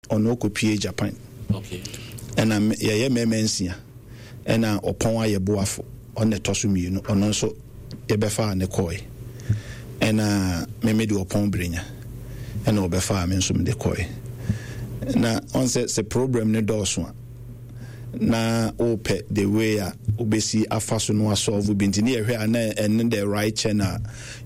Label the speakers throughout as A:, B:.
A: Ɔno ɔkɔpie Japan. Ɛna yɛyɛ mmarima nsia. Ɛna ɔpɔn ayɛ boafo. Ɔno na ɛtɔ so mmienu. Ɔno nso yɛbɛfaa ne kɔe. Ɛna me mede ɔpɔn Brenya. Ɛna ɔbɛfaa me nso mede kɔe. Na ɔn sɛ sɛ problem no dɔɔso a na wopɛ the way a wobɛsi afa so no asɔlvo bi nti ne yɛhwɛ a na ɛne the right channel a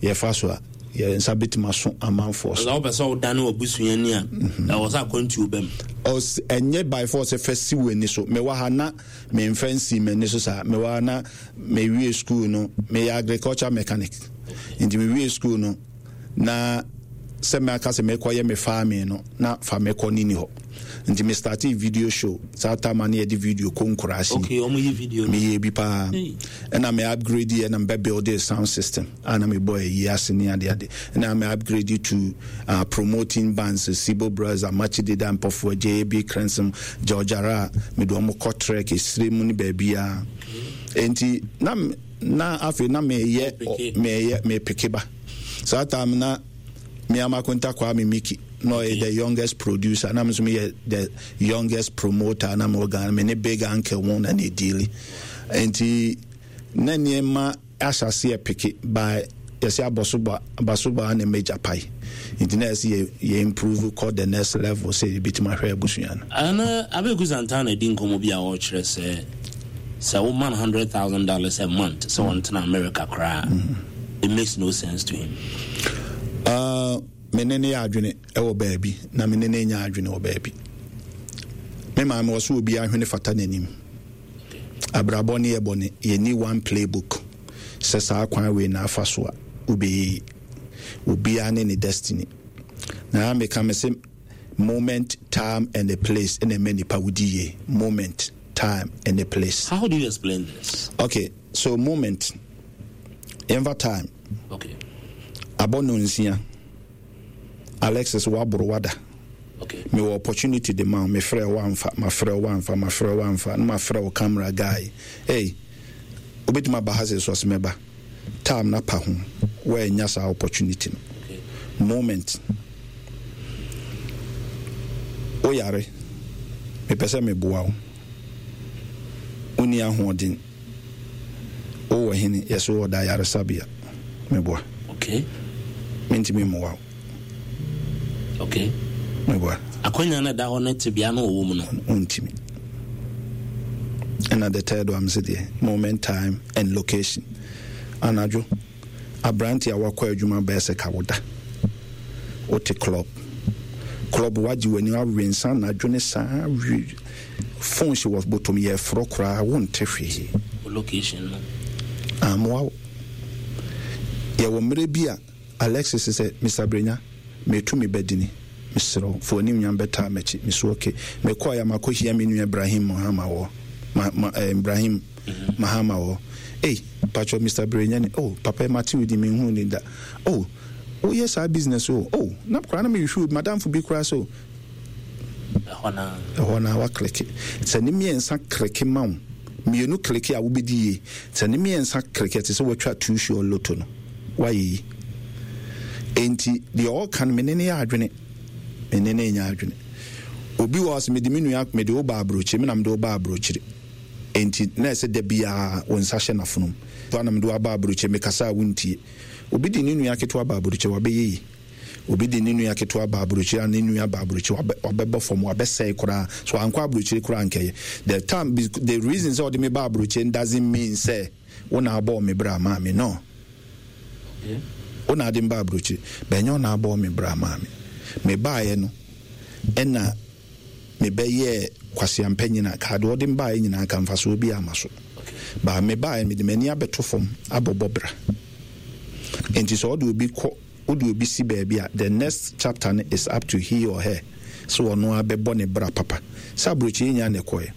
A: yɛfa so a yɛn nsa bɛtumi aso amanfoɔ so.
B: Sɛ wopɛ sɛ wodane w'abusuani a, mhm. ɛwɔ sɛ akwantuo ba mu.
A: Ɛnyɛ by force fɛ si w'ani so. Mewɔ ha na memfa nsi m'ani so saa. Mewɔ ha na mewie school no, meyɛ agriculture mechanic. Nti mewie school no, na sɛ maka sɛ mekɔyɛ me farming no, na fa mekɔ ne ni hɔ. Nti me startee video show saa time a na yɛde video kɔ nkuraase.
B: Okay, wɔn yi video no.
A: Meyɛ bi paa. Ɛna me upgrade yɛ na mebɛ build sound system. A na mebɔ ayi ase ne ade ade. Ɛna me upgrade to uh, promoting bands, Sibo Brothers, Amakye Deda, Mpɔfoɔ, JAB Crensom, George Ara, mede wɔn kɔ trek, esire mu ne baabiara. Enti na na afei na meyɛ meyɛ mepeke ba. Saa time na me Amakonta Kwame Miki na ɔyɛ the youngest producer na me nso meyɛ the youngest promoter na mewɔ Ghana me ne big uncle mu na ne deali. Enti na nneɛma ahyɛ aseɛ peke by yɛsɛ abɔsoba abasoba na major pae nti na yɛsɛ yɛ yɛ improve kɔ the next level sɛ yɛbɛtumi ahwɛ abusua no.
B: Ɛna Abeku Santana di nkɔmmɔ bi a ɔrekyerɛ sɛ sɛ woma no $100,000 a month sɛ ɔntena America koraa mm. it makes no sense to him.
A: Me ne ne yɛ adwene wɔ baabi na me ne ne nyɛ adwene wɔ baabi. Me maame wɔ so obi ahwene fata n'anim. Abrabɔ ne yɛ bɔne, yɛnni one playbook sɛ saa kwan wei na afa so a wobɛyɛ yie. Obiara ne ne destiny. Na meka me se moment, time and a place na ɛma nipa wodi yie. Moment, time and a place.
B: How do you explain this?
A: Okay, so moment, yɛmfa time.
B: Okay.
A: Abɔ no nsia. Alexis waboro wada.
B: Okay.
A: Mewɔ opportunity de ma wo, mefrɛ wo amfa, mafrɛ wo amfa, mafrɛ wo amfa, na mafrɛ wo camera guy. Hey, wobɛtumi aba ha sɛ so ɔsɛ mɛba. Time na pa ho, woannya saa opportunity no.
B: Okay.
A: Moment. Woyare, mepɛ sɛ meboa wo. Wonni ahoɔden. Wowɔ hene? Yɛse wɔ da ayaresabea. Meboa.
B: Okay.
A: Mentumi mmoa wo.
B: Okay.
A: Meboa.
B: Akwanya no da hɔ ne tebea no ɔwɔ mu no.
A: Wontumi. Ɛna the third one sɛ deɛ moment, time and location. Anadwo, aberante a wakɔ adwuma bɛyɛ sɛ ka woda. Wote club. Club wagye w'ani awe nsa anadwo ne saa Phone hyɛ wɔ botom yɛ frɔ koraa wo nte hwee.
B: Wo location no.
A: Amoa wo. Yɛwɔ mmerɛ bi a Alexis sɛ Mister Brenya metu me badini mesrɛ wo fa w'animnyam bɛtaa m'akyi me so ok. Mekɔɔɛ a makɔ hia me nua Ibrahim Mahama wɔ ma ma eh, Ibrahim mm-hmm. Mahama wɔ ei patrɔ Mister Brenya ni oh papa mate wo din menhuu ni da oh woyɛ saa business o oh na koraa na mehwehwɛ obi madamfo bi koraa sɛ o
B: Ɛhɔ no ara.
A: Ɛhɔ no ara woakleke. Sɛ ne mmiɛnsa kleke ma wo, mmienu kleke a wobɛdi yie. Sɛ ne mmiɛnsa kleke a, ɛte sɛ woatwa two sure lotto no, woayɛ yi. Enti deɛ ɔreka no, me ne no yɛ adwene. Me ne no nyɛ adwene. Obi wɔ hɔ sɛ mede me nua, mede wo ba aburokyire, me na mede wo ba aburokyire. Enti na ɛsɛ da biara wo nsa hyɛ n'afonom. Na mede wo aba aburokyire, mekasa a wontie. Obi de ne nua ketewa ba aburokyire, wabɛyɛ yi. Obi de ne nua ketewa ba aburokyire a ne nua ba aburokyire wabɛ wabɛbɔ fam wabɛsɛe koraa so ankɔ aburokyire koraa nkɛyɛ the time the reason sɛ ɔde me ba aburokyire doesn't mean sɛ wo na abɔɔ me bra maa me no wo na ade me ba aburokyire bɛnyɛ wo na abɔɔ me bra maa me me baeɛ no ɛna mebɛyɛɛ kwaseampanyin a kaa deɛ ɔde me baeɛ nyinaa ka mfasoɔ bi ama so baa me baeɛ mede m'ani abɛto fam abɔbɔ bra nti sɛ ɔde obi kɔ Wode obi si baabi a, the next chapter no is up to he or her sɛ ɔno ara bɛbɔ ne bra papa. Sɛ aburokyire nyaa na ɛkɔɛ.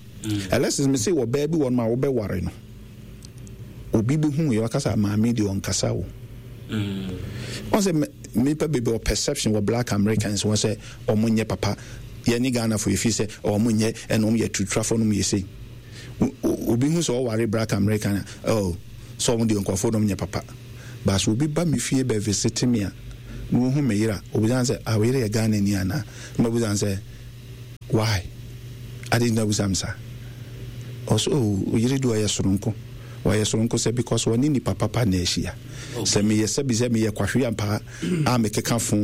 A: Alexis, mese ɔbaa bi wɔ nom a wobɛware no, obi bɛhu yɛ waka sɛ maame deɛ ɔnkasa o. Wɔn sɛ nnipa bebree wɔ perception wɔ black Americans wɔn sɛ wɔn nyɛ papa. Yɛne Ghana fo yɛfi sɛ wɔn nyɛ ɛna wɔn yɛ tuturafo nom yɛ sei. Obi hu sɛ ɔware black American a, oh, sɛ wɔn deɛ nkurɔfoɔ nom nyɛ papa. But sɛ obi ba me fie bɛ visite me a, na ohu me yere a, obisa no sɛ, ah, wo yere yɛ Ghanani anaa? Na mabisa no sɛ, Why? Adɛn nti na wobisa me saa? Ɔse oh, wo yere deɛ ɔyɛ soronko. Ɔyɛ soronko sɛ because ɔne nipa papa na ahyia. Sɛ meyɛ sɛbi sɛ meyɛ kwahwe ampa a mekeka fo,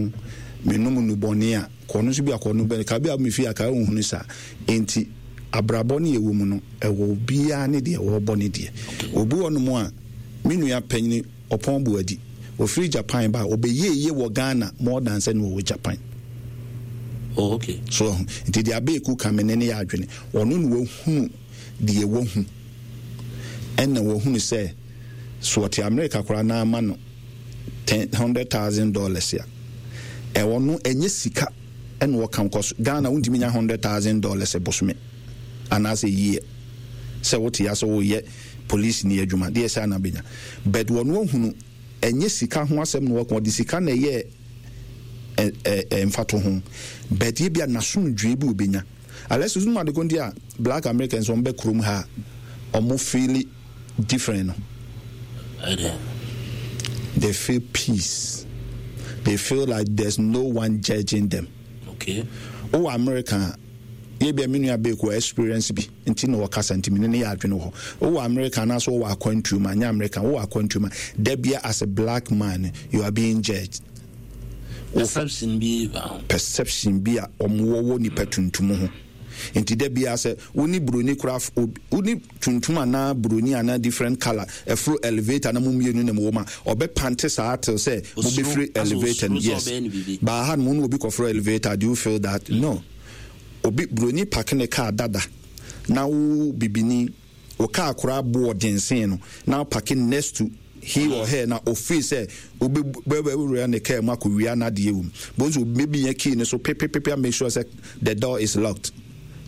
A: menom nnubɔne a, kɔ ɔno nso bi a kɔ ɔno bɛn, ka bi a me fie a ka ɔnhunu saa. Enti abrabɔ no yɛwɔ mu no, ɛwɔ obiara ne deɛ ɔrebɔ ne deɛ. Obi wɔ nom a, me nua panyini Ɔpɔn Boadi, ɔfiri Japan ba a, ɔbɛyɛɛ yie wɔ Ghana more than sɛ na ɔwɔ Japan.
B: Oh, okay.
A: So wahu? Nti deɛ Abeeku ka me ne no yɛ adwene. Ɔno na wahunu deɛ wahu. Ɛna wahunu sɛ, so ɔte Amerika koraa na ama no $100,000 a, ɛwɔ no ɛnyɛ sika ɛna ɔka nkɔ Ghana wontumi nya $100,000 bosome anaasɛ year sɛ wote ya sɛ woyɛ police ni adwuma deɛ saa na bɛnya but wɔn ahunu ɛnyɛ sika ho asɛm na wɔka ɔde sika na ɛyɛ ɛ mfato ho but yɛ bi a n'asomdwoe bi obɛnya unless nso ade ko nti a black Americans wɔn bɛ kurom ha wɔn feel different no they feel peace they feel like there's no one judging them
B: okay
A: wowɔ America yɛ bia me nua beeku experience bi nti na ɔkasa nti mene no yɛ adwene wɔ hɔ. Wowɔ America anaasɛ wowɔ akwantuo mu a, nyɛ America, wowɔ akwantuo mu a, da bia as a black man you are being judged.
B: Perception bi ba ho.
A: Perception bi a wɔn wɔ wɔ nipa tuntum ho. Nti da bia sɛ wo ne buroni koraa, wo ne tuntum anaa buroni anaa different colour ɛforo elevator na mo mmienu na mo wɔ mu a, ɔbɛ pante saa till sɛ mo bɛfiri elevator no. Yes. Baa ha no mo ne obi kɔforo elevator, do you feel that? No. Obi broni pake ne car dada na wo bibini wo car koraa boɔ den sen no na wo pake next to he or her na o feel sɛ wo bɛ bɛ wura ne car mu akɔ wia n'adeɛ wɔ mu bo nso maybe nya key ne so pepepepe make sure sɛ the door is locked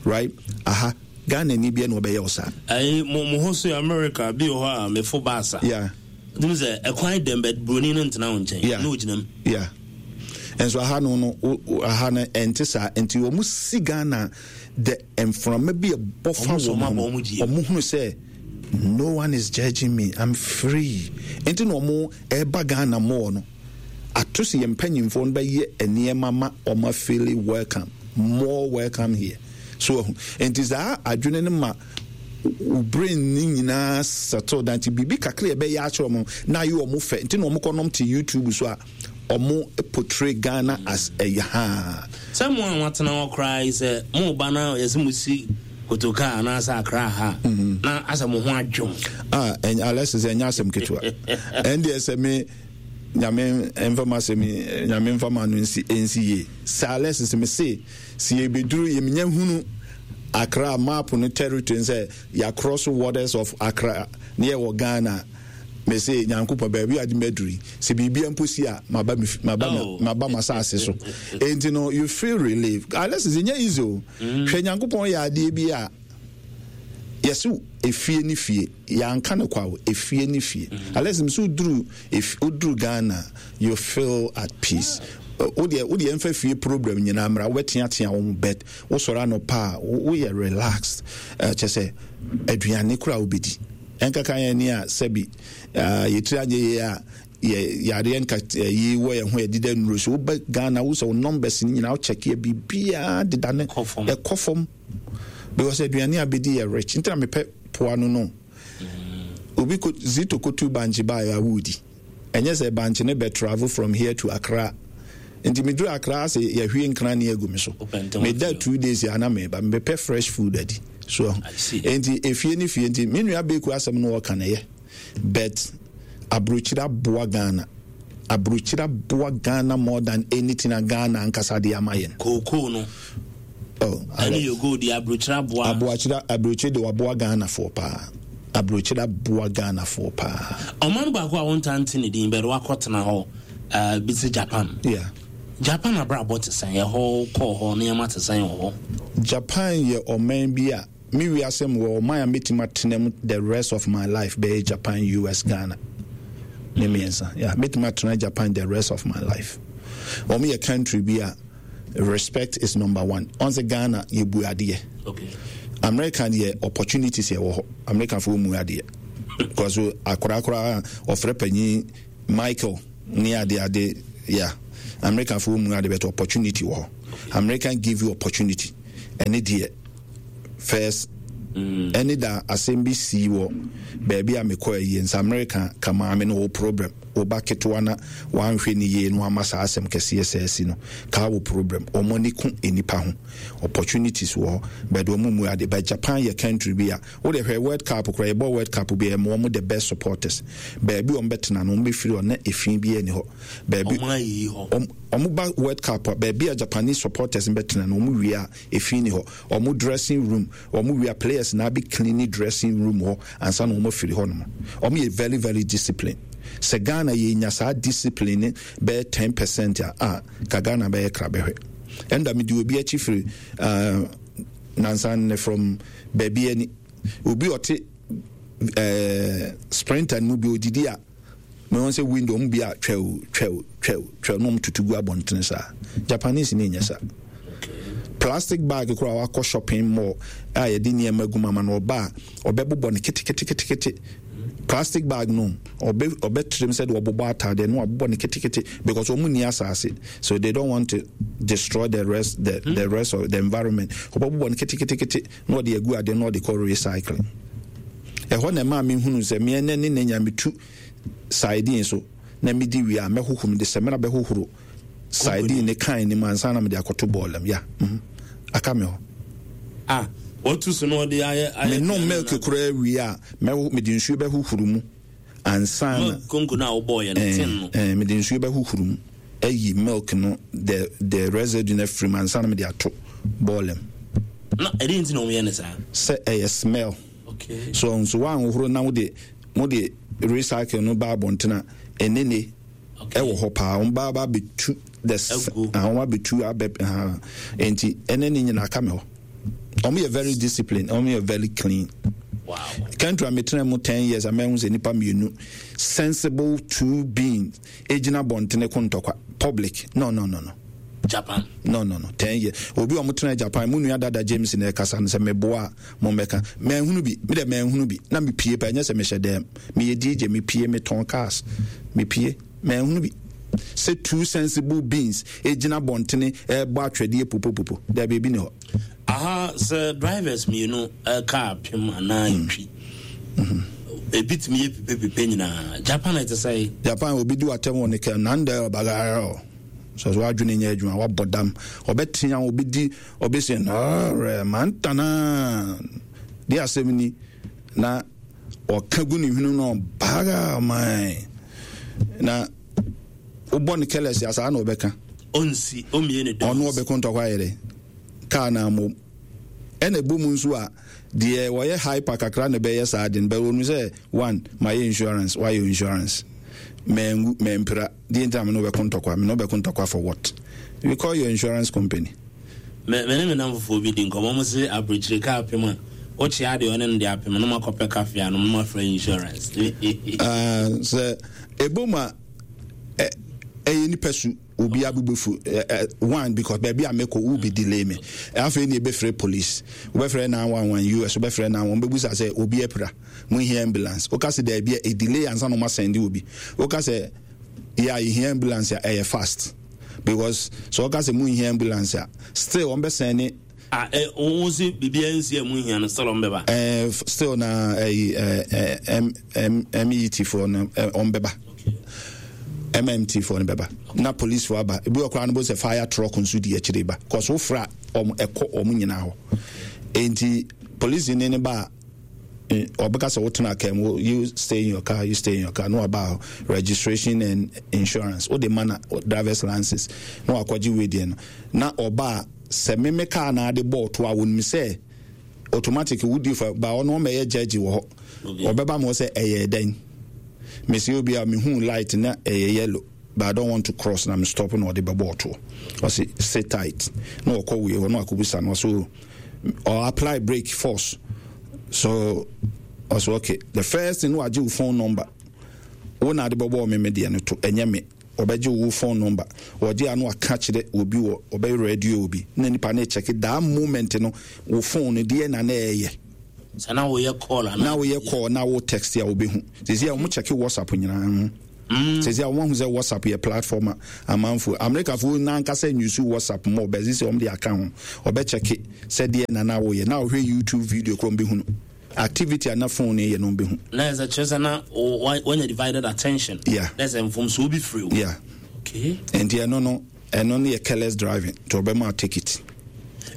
A: right aha Ghana ni bia na ɔbɛyɛ wo saa.
B: Ayi mo mo ho so America bi wɔ hɔ a mefo baasa.
A: Yeah.
B: Wotumi sɛ ɛkwan dɛm bɛ broni no ntena wo nkyɛn.
A: Yeah.
B: Na ogyina mu.
A: Yeah. Nso aha no no aha no ɛnte saa nti wɔn si Ghana the mframa bi ɛbɔ fa wɔn ho wɔn hunu sɛ no one is judging me I'm free nti na wɔn ɛba Ghana mɔɔ no ato sɛ yɛn mpanyinfoɔ no bɛyɛ nneɛma ma wɔn afeeli welcome more welcome here so ɛho nti saa adwene no ma wo brain ne nyinaa settle down nti biribi kakra yɛbɛyɛ akyerɛ wɔn na ayɛ wɔn fɛ nti na wɔn kɔnom te YouTube so a wɔn portray Ghana as ɛyɛ haa.
B: Sɛ mo a moatena hɔ koraa yi sɛ mo ba na yɛsɛ mo si kotoka anaasɛ akra ha mhm. na asɛ mo ho adwom.
A: Ah, Alexis ɛnyɛ asɛm ketewa ɛndeɛ sɛ me nyame mfa ma asɛm nyame mfa ma no nsi nsi yie sɛ Alexis me se sɛ yɛbɛduru yɛmenya hunu Accra map no territory sɛ yɛacross waters of Accra ne yɛwɔ Ghana me se Nyankopɔn baabi a de maduru yi sɛ biribia mpo si a maba maba oh. maba m'asase so enti no you feel relief unless it's nyɛ easy o mm. hwɛ Nyankopɔn yɛ adeɛ bi a yɛse efie ne fie yɛanka no kwa o efie ne fie mm. unless nso woduru woduru Ghana you feel at peace wodeɛ wodeɛ mfa fie problem nyinaa mmra wobɛteatea wɔn bed wosɔre anɔpa a woyɛ relaxed kyɛ sɛ aduane koraa wobɛdi Ɛnkaka yɛn ni a sɛbi yɛ tiri anyɛ yie a yɛ yareɛ nka yi wɔ yɛn ho yɛ deda nnuro so wobɛ Ghana wo sɛ wo numbers no nyinaa wo check yɛ biribiara deda ne ɛkɔ fam because aduane a bɛdi yɛ rich nti na mepɛ poa no no mm. obi ko zito kotu bankye baeɛ a wodi Ɛnyɛ sɛ bankye no bɛ travel from here to Accra. Nti me duru Accra ase yɛhwie nkrane agu me so. Me da 2 days a na me ba. Me pɛ fresh food adi. So nti efie ne fie nti me nua Beku asɛm no ɔka no yɛ. But abrokyire aboa Ghana. Abrokyire aboa Ghana more than anything a Ghana ankasa de ama yɛn.
B: Kookoo no.
A: Oh,
B: ɛne yɛ gold yɛ aburokyire aboa.
A: Aburokyire aburokyire de waboa Ghanafoɔ paa. Aburokyire aboa Ghanafoɔ paa.
B: Ɔman baako a wɔntaa nte ne din bɛrɛ wakɔtena hɔ uh, bi sɛ Japan.
A: Yeah.
B: Japan abrabɔ te sɛn? Ɛhɔ kɔɔ hɔ nneɛma te sɛn wɔ hɔ?
A: Japan yɛ ɔman bi a me wiase mu wɔ ɔman a mɛtumi atena mu the rest of my life bɛyɛ Japan, US, Ghana. Ne mmiɛnsa. Yeah, mɛtumi atena Japan the rest of my life. Wɔn yɛ country bi a Respect is number one. Ɔn sɛ Ghana yɛ bu adeɛ.
B: Okay.
A: America deɛ opportunities yɛ wɔ hɔ. America fo mu adeɛ. Because akora akora ɔfrɛ panyin Michael ne ade ade yeah. America fo mu ade but opportunity wɔ hɔ. American give you opportunity. Ɛne deɛ first ɛne da asɛm bi sii wɔ baabi a mekɔ ayie nsa Amerika ka maame no wɔ problem wo ba ketewa na wanhwɛ ne yie no ama saa asɛm kɛseɛ sɛ asi no kaa wɔ problem. Wɔn ani ko nnipa ho, opportunities wɔ hɔ but wɔn mu ade. But Japan yɛ country bi a wode hwɛ World Cup koraa, yɛbɔ World Cup bi a ɛma wɔn the best supporters. Baabi wɔn bɛtena no wɔn bɛfiri hɔ na efi bi ani hɔ. Baabi
B: wɔn ayiyi hɔ.
A: Wɔn ba World Cup a baabi a Japanese supporters bɛtena no wɔn wie a efi ni hɔ. Wɔn dressing room wɔn wie a players na abɛ clean dressing room hɔ ansa na wɔn afiri hɔ nom. Wɔn yɛ very very discipline. Sɛ Ghana yɛ nya saa discipline ne bɛyɛ 10% a, a ka Ghana bɛyɛ krabɛhwɛ. Ɛnda me di obi akyi firi uh, nansa ne from baabi ani. Obi ɔte uh, sprinter no mu bi odidi a mehu sɛ window ɔmo bi a twɛw twɛw twɛw twɛw na ɔmo tutu gu abɔntene saa. Japanese ne nyɛ saa. Plastic bag koraa wakɔ shopping mall a yɛde nneɛma gu mu ama no, ɔba a ɔbɛbobɔ no keteketekete. Plastic bag no ɔbɛ ɔbɛtrem sɛ de ɔbobɔ ataadeɛ no wabobɔ no ketekete because wɔn nni asase, so they don't want to destroy the rest the, hmm. the rest of the environment. Ɔbɛbobɔ no keteketekete na ɔde agu adeɛ na ɔde kɔ recycling. Ɛhɔ na ɛmaa mi hunu sɛ meɛ ne ne ne nya metu sardine so na medi wie a mɛhohoro, mede sɛmina bɛhohoro sardine ne kan ne mu ansa na mede akɔto bɔɔl mu ya aka me hɔ.
B: Ah, wɔtu so na ɔde ayɛ ayɛ.
A: Menom milk koraa wie a mɛho mede nsuo bɛhohoro mu ansa na.
B: Milk konko no a wobɔɔyɛ no tin no.
A: Ɛɛ mede nsuo bɛhohoro mu ayi milk no the residue no afiri mu ansa na mede ato bɔɔl mu.
B: Na ɛdeɛn nti na wɔyɛ no saa?
A: Sɛ ɛyɛ smell.
B: Okay.
A: So nso woanhohoro na wode mode recycle no ba abɔnten a ɛnene ɛwɔ hɔ paa, wɔn ba ba abɛtu the wɔn abɛtu abɛ ha nti ɛne ne nyinaa ka me hɔ. Wɔn yɛ very disciplined, wɔn yɛ very clean.
B: Wow.
A: Country a metena mu 10 years a mɛhu sɛ nipa mmienu sensible two beings egyina bɔntene ko ntɔkwa public, no, no, no, no.
B: Japan.
A: No, no, no, 10 years obi a wɔn tena Japan mu nua dada James na ɛkasa no sɛ meboa a mo mmɛka mɛnhunu bi, mi dɛ mɛnhunu bi na mepie pa, ɛnyɛ sɛ mehyɛ dɛm, meyɛ DJ, mepie metɔn cars, mepie mɛnhunu bi sɛ two sensible beings egyina bɔntene ɛbɔ atwɛdeɛ popopopo dɛbi, ebi ni hɔ.
B: Aha sɛ drivers mmienu kaa pem anaa ntwi ebi tumi yɛ pipepipe nyinaa. Japan ɛte sɛ?
A: Japan obi di watɛm wɔ ne kɛ nandɛ ɔbagayɛ sɛ so wadwene nyɛ adwuma, wabɔ dam, ɔbɛtea obi di ɔbɛsi nɔɔrɛ mantana de asɛm ni na ɔka gu ne hwene no baga man na wobɔ ne kɛlɛs asaa na ɔbɛka.
B: Ɔnsi ɔmmie ne dɔn.
A: Ɔno ɔbɛko ntɔkwa ayɛ dɛ kaa na mmom ɛna ɛbɔ mu nso a deɛ wɔyɛ hyper kakra na ɛbɛyɛ saa de no bɛwɔ nu sɛ one mayɛ insurance, wayɛ insurance, mɛngu mɛmpira deɛ ntina me ne wobɛko ntɔkwa, me ne wobɛko ntɔkwa for what? We call your insurance company.
B: Me ne me nam fofoɔ bi di nkɔmmɔ mo se aburokyire kaa apem a wokyea deɛ ɔne no de apem no makɔpɛ kafe anom no mafrɛ insurance.
A: Sɛ ɛbɔ mu a ɛyɛ nipa su obi abobɛfu one because baabi a mekɔ wo bi delay me, afei ne ɛbɛfrɛ police, wobɛfrɛ 911 US, wobɛfrɛ 911, wobɛbusa sɛ obi apira, mohia ambulance, woka sɛ daabi a ɛdelay ansa na ɔma sɛnde obi. Woka sɛ yɛ a yɛhia ambulance a ɛyɛ fast because sɛ wɔka sɛ monhia ambulance a still wɔmbɛsɛn ne.
B: Ah, wo se biribiara nsi a mu hia no still ɔmbɛba?
A: Still na ɛyi M M MET foɔ no ɔmbɛba. MMT foɔ no bɛba na police foɔ aba, ebi wɔ koraa no bo sɛ fire truck nso di akyire ba kɔs wofra ɔmo ɛkɔ ɔmo nyinaa hɔ, nti police ne ba a ɔbɛka sɛ wotena kaa mu, you stay in your car, you stay in your car, na waba hɔ registration and insurance wode ma na driver's license na wakɔgye wei deɛ no na ɔba a sɛ meme kaa na ade bɔɔ to a wɔnim sɛ automatic wodi fa ba ɔno ɔmɛyɛ judge wɔ hɔ, ɔbɛba ma sɛ ɛyɛ dɛn, mesi obi a mehu light na ɛyɛ yellow but I don't want to cross na me stop na ɔde bɛbɔ ɔtoɔ, ɔsi sit tight na ɔkɔ wei hɔ na wakɔbusa no, ɔso or apply brake force so ɔso okay, the first thing no wagye wo phone number, wo na ade bɛbɔ me me deɛ no to ɛnyɛ me, ɔbɛgye wo phone number, ɔgye ano aka kyerɛ obi wɔ ɔbɛyɛ radio obi na nipa no check that moment no wo phone no deɛ na na ɛyɛ.
B: Sɛ na woyɛ call
A: ana? Na woyɛ call na wo text a wobɛhu sisi a wɔn check WhatsApp nyinaa. Sɛsi a wɔn ahu sɛ WhatsApp yɛ platform a amanfoɔ Amerikafoɔ nankasa nyusu WhatsApp mɔ bɛsi sɛ wɔn de aka ho ɔbɛkyɛke sɛ deɛ na na woyɛ na wohwɛ YouTube video korɔ bɛhunu activity a na phone no yɛ no bɛhu.
B: Na ɛsɛ kyerɛ sɛ na wanya divided attention.
A: Yeah.
B: Na ɛsɛ mfomsoɔ bi firi wo.
A: Yeah.
B: Okay.
A: Nti ɛno no ɛno no yɛ careless driving nti ɔbɛma ticket.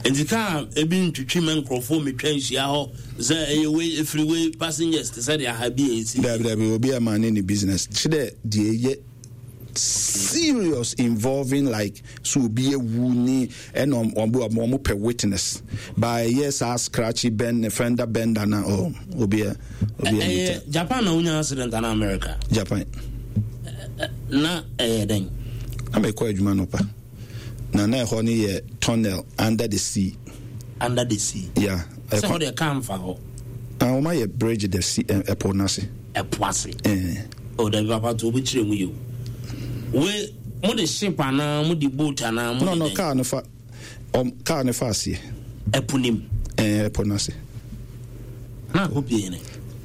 B: Nti kaa ebi ntwitwi ma nkurɔfoɔ metwa nhyia hɔ sɛ ɛyɛ wei efiri wei passengers te sɛ deɛ aha bi a esi.
A: Dabi dabi obi a maa ne ne business kyerɛ deɛ ɛyɛ serious involving like so obi ewu ne ɛna wɔn wɔn pɛ witness ba ɛyɛ saa scratchy bend fender bender na oh obi a obi a
B: ɛyɛ Japan na wonya accident ana America.
A: Japan.
B: Na ɛyɛ dɛn.
A: Na mekɔ adwuma no pa. Na na ɛhɔ no yɛ tunnel under the sea.
B: Under the sea.
A: Yeah.
B: Sɛ hɔ deɛ kaa nfa hɔ.
A: Ah, wɔn ayɛ bridge the sea ɛpo eh, n'ase.
B: Ɛpo ase.
A: Eh.
B: Oh, dabi papa to obi kyerɛ mu yi o. We mo de ship anaa mo de boat anaa mo de.
A: No no kaa no fa um, kaa no fa aseɛ.
B: Ɛpo nim.
A: Eh, ɛpo n'ase.
B: Na akɔ pie ne.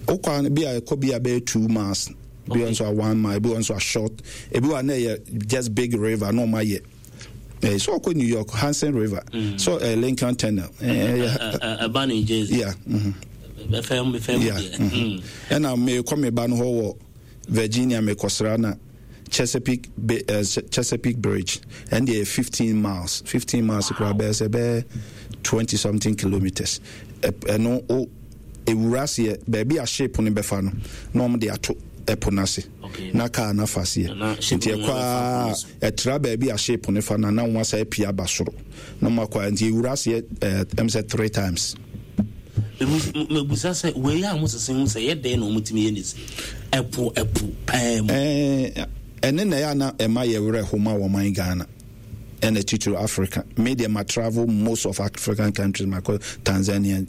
A: Okɔ bi a ɛkɔ bi a bɛyɛ 2 miles. Ebi wɔ nso a 1 mile, ebi wɔ nso a short, ebi wɔ a na ɛyɛ just big river na ɔmo ayɛ. Eh, so ɔkɔ New York, Hudson River, so eh, Lincoln Tunnel.
B: Ɛba New Jersey.
A: Yeah.
B: Mm-hmm.
A: Yeah. Ɛna mekɔ me ba no hɔ wɔ Virginia mekɔsra na Chesapeake Bay, Chesapeake Bridge ɛn deɛ 15 miles, 15 miles koraa bɛyɛ sɛ bɛyɛ 20 something kilometers. Ɛno o ewura aseɛ baabi a ship no bɛfa no na wɔn de ato ɛpo no ase na kaa no afa aseɛ nti ɛkɔ a ɛtra baabi a ship no fa no na wɔn asa apia aba soro na wɔn akɔ a nti ewura aseɛ ɛɛ ɛm sɛ three times.
B: Mebusa sɛ wei a wɔsese ho sɛ yɛ dɛn na wɔtumi yɛ ne si ɛpo ɛpo pɛɛ mu.
A: Ɛɛ ɛne na ɛyɛ ana ɛma yɛ werɛ ho ma wɔn man Ghana. Ɛna titiri Africa. Me deɛ ma travel most of African countries, ma kɔ Tanzania,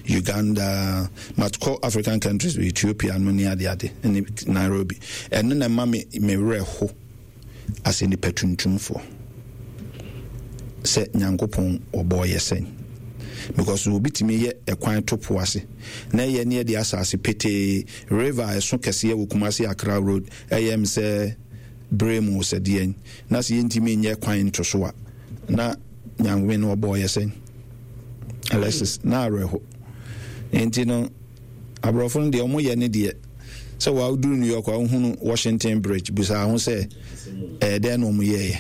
A: Uganda, ma kɔ African countries, Ethiopia no ne ade ade, ne Nairobi. Ɛno na ɛma me me werɛ ho asɛ nipa tuntumfoɔ sɛ Nyankopɔn ɔbɔɔ yɛ sɛn. Because obi tumi yɛ ɛkwan to po ase na ɛyɛ ne yɛde asase petee river a ɛso kɛseɛ wɔ Kumasi Accra road ɛyɛ m sɛ berɛ mu sɛ deɛn na sɛ yɛntumi nyɛ kwan nto so a na Nyame no ɔbɔɔ yɛ sɛn? Alexis na awerɛho nti no aborɔfo no deɛ ɔmo yɛ ne deɛ sɛ wɔaduru New York a wohunu Washington Bridge busaa ho sɛ ɛyɛ dɛn na ɔmo yɛɛyɛ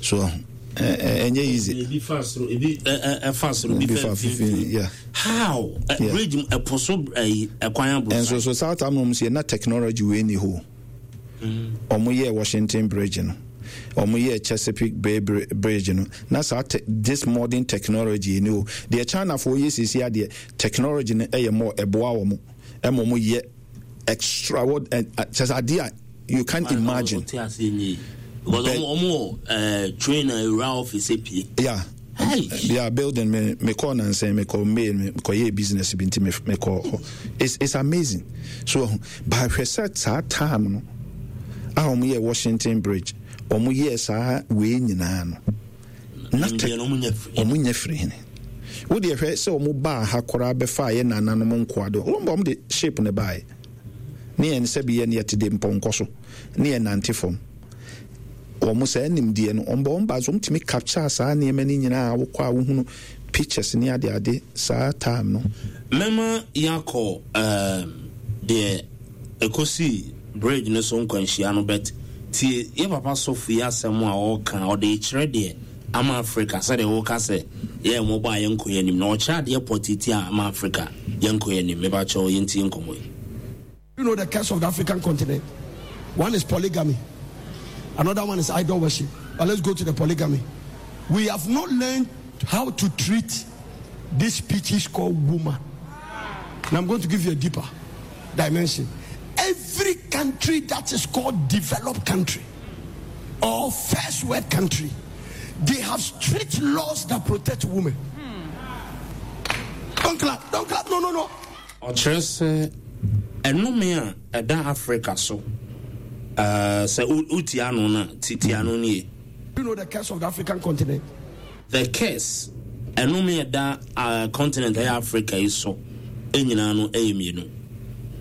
A: so ɛnyɛ easy.
B: Ebi fa soro, ebi ɛfa soro, ebi fa mfimfini.
A: Yeah.
B: How? Bridge ɛpo so ɛyi ɛkwan aborosan.
A: Nso so South Amnom so yɛ na technology wei ni hɔ. Wɔn yɛɛ Washington Bridge no, wɔn yɛɛ Chesapeake Bay Bridge no, na saa te, this modern technology yi ni o. Deɛ Chinafoɔ yɛ sisi adeɛ, technology no ɛyɛ more ɛboa wɔn, ɛma wɔn yɛ extra what ɛ kyɛ sɛ adeɛ a you can't imagine.
B: Because wɔn wɔ eh, train a ewura office epie.
A: Yeah. Yeah, building me me call nansen me call mail me call yeah business bi nti me me call hɔ. It's amazing. So but hwɛ sɛ saa time no a wɔn yɛ Washington Bridge wɔn yɛ saa wei nyinaa no na tɛ wɔn nyɛ firi hene. Wo deɛ hwɛ sɛ wɔn baa ha koraa bɛfa yɛ nananom nkoa de wɔn bɔ wɔn de shape ne baeɛ ne yɛn sɛbi yɛn yɛte de mpɔnkɔ so ne yɛn nante fam. Wɔn saa nimdeɛ no, wɔn bɔ wɔn ba so, wɔn tumi capture saa nneɛma no nyinaa, wokɔ a wohunu pictures ne ade ade saa time no.
B: Mɛma yɛakɔ ehm deɛ ɛkɔsii bridge no so nkwanhyia no but tie yɛ papa sɔfo yi asɛm a ɔreka ɔde rekyerɛ deɛ ama Africa sɛdeɛ woka sɛ yɛyɛ mmɔbɔ a yɛnkɔ yɛn anim na ɔkyerɛ adeɛ pɔtee ti a ama Africa yɛnkɔ yɛn anim mepakyɛw yɛntie nkɔmmɔ yi.
C: You know the curse of the African continent? One is polygamy, another one is idol worship. But let's go to the polygamy. We have not learned how to treat this species called woman. And I'm going to give you a deeper dimension. Every country that is called developed country or first world country, they have strict laws that protect women. Don't clap, don't clap, no, no, no.
B: Ɔkyerɛ sɛ ɛnome a ɛda Afrika so sɛ wotie ano no a, tie ano no yie.
C: Do you know the curse of the African continent?
B: The curse, ɛnome a ɛda continent ɛyɛ Africa yi so nyinaa no ɛyɛ mmienu.